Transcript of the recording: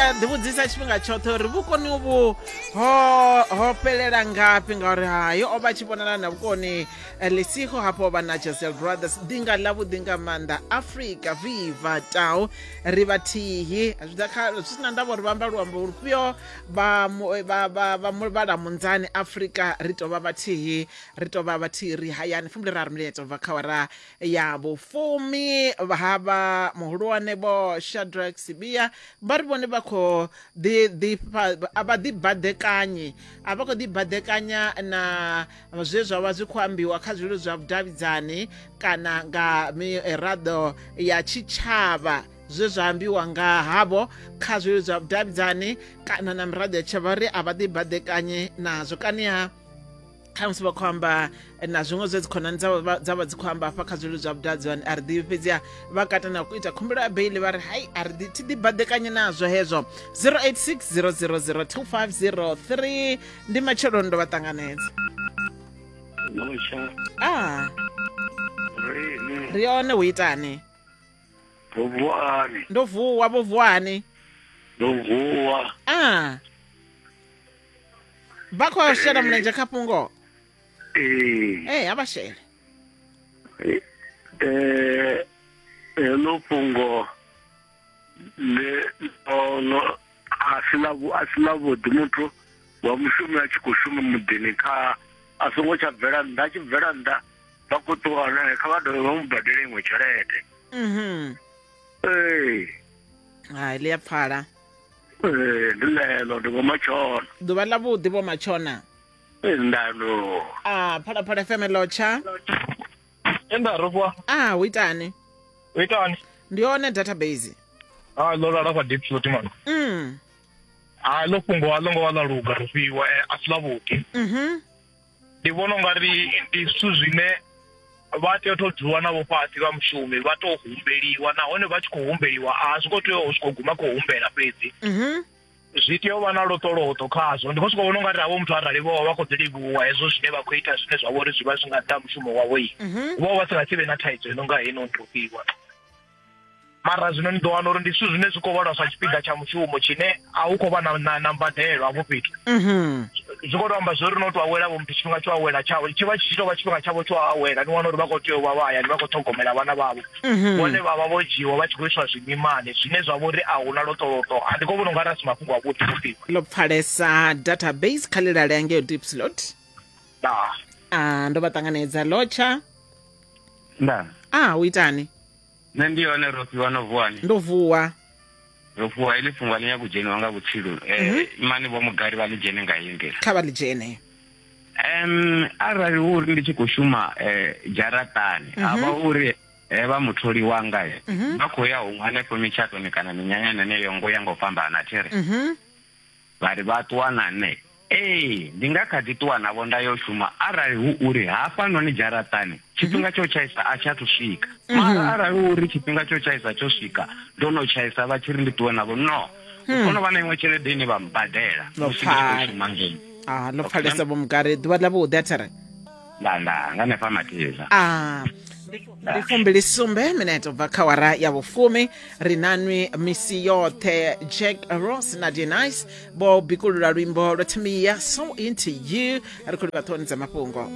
a ḓivhudzisa tshifhinga tshoṱhe uri vhukoni uvhu ho ho fhelela ngafhi, ngauri hayo o vha tshi vhonala na vhukoni. Lisiho hafho vha na Jesel Brothers, ḓinga ḽavhuḓi nga maanḓa. Afrika viva tau, ri vhathihi, zwi ḓa kha zwi sina ndavha uri vha amba luambo lufhio, vha vha vha vha muvhala munzani. Afrika ri tou vha vhathihi, ri tou vha vhathihi, ri hayani. 23 minetse ubva kha wara ya vhufumi. Havha muhulwane Vho Shadrack Sibia vha ri vhone vha khou ḓi ḓi a vha ḓi badekanyi, a vha khou ḓi badekanya na zwe zwa vha zwi khou ambiwa kha zwileludzi zwa vhudavhidzani kana nga miraḓo ya tshitshavha. Zwe zwa ambiwa nga havho kha zwileludzi zwa vhudavhidzani kana na miraḓo ya tshitshavha, ri a vha ḓi badekanyi nazwo. Kaniha khamusi vha khou amba na zwiṅwe zwe dzikhonani dza vha dzi khou amba hafha kha zwileludzi zwa vhudavhidzani, a ri ḓivhi. Fhedziha vha kata na u ita khumbelo ya beili, vha ri hai, a ri thi ḓi baḓekanye nazwo hezwo. 086 000 2503. Ndi matsheloni, ndo vha ṱanganedza. Lotsha. A Rini. Ri hone, hu itani? Ndo vuwani? Ndo vuwa, vho vuwani? Ndo vuwa. A vha khou shela mulenzhe kha fhungo? Ee. Ee, a vha shele. Heḽo fhungo le ḽo a si ḽa a si ḽavhuḓi. Muthu wa mushumi a tshi khou shuma muḓini, kha a songo tsha bvela nnḓa. A tshi bvela nnḓa vha khou ṱuwa nae, kha vha dovhe vha mu badele iṅwe tshelede. Ee. Hai, ḽi a pfala. Ee, ndi ḽeḽo, ndi Vho Matshona. Ḓuvha ḽa vhuḓi, Vho Matshona. Ee, ndano. A Phalaphala FM, lotsha. Enda ro vuwa. A hu itani? U itani? Ndi hone, database. Ah, ḽo lala fha deep slot man. Ah, ḽo fhungo a ḽo ngo vha ḽa luga, ro fhiwa a si ḽavhuḓi. Ndi vhona ungari ndi zwithu zwine vha tea u tou dzulwa navho fhasi vha mushumi, vha tou humbeliwa, nahone vha tshi khou humbeliwa a zwi khou tea u sokou guma khou humbela fhedzi. Zwi tea u vha na loṱoloṱo khazwo. Ndi khou sokou vhona ungari havho muthu arali vho vha vha khou ḓi livhuwa hezwo zwine vha khou ita, zwine zwa vha uri zwi vha zwi nga nnḓa ha mushumo wavho, vho vha si nga si vhe na thaidzo ino nga heino ndo fhiwa. Mara zwino ni ḓo wana uri ndi zwithu zwine zwi khou vhalwa sa tshipiḓa tsha mushumo tshine a hu khou vha na, na, na mbadelo hafho fhethu. Zwi khou to amba zwori no to awela vho muthu tshifhinga tsho awela tshawe tshi vha tshi tou vha tshifhinga tshavho tsho awela. Ni wana uri vha khou tea u vha vha hayani vha khou ṱhogomela vhana vhavho, vhone vha vha vho dzhiiwa vha tshi khou iswa zwimimani zwine zwa vha uri a huna loṱoloṱo. A ndi khou vhona ungari a si mafhungo avhuḓi vhufhiwa. Ḽo pfalesa, database kha ḽilale ngeo deep slot. Ndaa. A ndo vha ṱanganedza, lotsha. Nda. A hu itani? Nṋe ndi hone, Rofhiwa, no vuwani? Ndo vuwa. Ro fhiwa iḽi fhungo a ḽi nyagi u dzheniwa nga vhutsilu. Imani Vho Mugari vha ḽi dzhene nga heyi nḓila. Kha vha ḽi dzhene. Arali hu uri ndi tshi khou shuma dzharaṱani, ha vha uri vha mutholi wanga vha khou ya huṅwe hanefho mitshatoni kana minyanyani heneyo ngo ya nga u fhambana, thi ri? Vha ri vha ṱuwa na nṋe. Ee, ndi nga kha ḓi ṱuwa navho nda yo shuma arali hu uri hafhanoni dzharaṱani tshifhinga tsho tshaisa a tshi athu swika. Mara arali hu uri tshifhinga tsho tshaisa tsho swika, ndo no tshaisa vha tshi ri ndi ṱuwe navho, no. Hu fanela u vha na iṅwe tshelede ine vha mbadela Ḽo musi ndi tshi khou pfala. shuma ngei. Ah, ḽo pfalesa, Vho Mugari. Ḓuvha ḽa vhuḓi, a thi ri? Nda nda nga hanefha Mathiza. Ah, ndi 27 minete ubva kha wara ya vhufumi. Ri nanwi misi yoṱhe. Jack Ross na Denice vho bikulula luimbo lwa Thamia, So Into You. Ri khou livha ṱhohoni dza mafhungo.